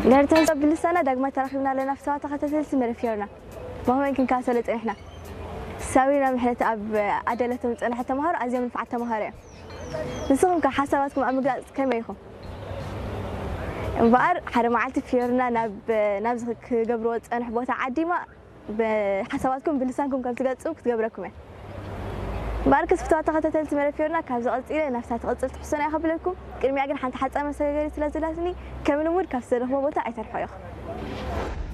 ድሕሪ ትሕዝቶ ብልሳና ዳግማይ ተራኺብና ኣለና። ፍትዋ ተኸታተልቲ መደብ ፊዮርና፣ ብኸመይ ክንከታተሎ ጸኒሕና? ሳብሪና ምሕረት ኣብ ኣዳለቶም ዝጸንሐት ተምሃሮ ኣዝዮም ንፉዓት ተምሃሮ እዮም። ንስኹም ከ ሓሳባትኩም ኣብ ምግላጽ ከመይ ኢኹም? እምበኣር ሓደ መዓልቲ ፊዮርና ናብ ናብዚ ክገብርዎ ዝጸንሑ ቦታ ዓዲማ ሓሳባትኩም ብልሳንኩም ከም ትገልጹ ክትገብረኩም እያ። እምበኣር ክስ ፍትዋ ተኸታተልቲ መደብ ፊዮርና፣ ካብዚ ቀጺለ ናብታ ትቕጽል ትሕዝቶና እየ ከብለኩም። ቅድሚያ ግን ሓንቲ ሓጻር መሰጋገሪት ስለ ዘላትኒ ከም ልሙድ ካብቲ ዘለኹዎ ቦታ ኣይተርሕቑ ኢኹም።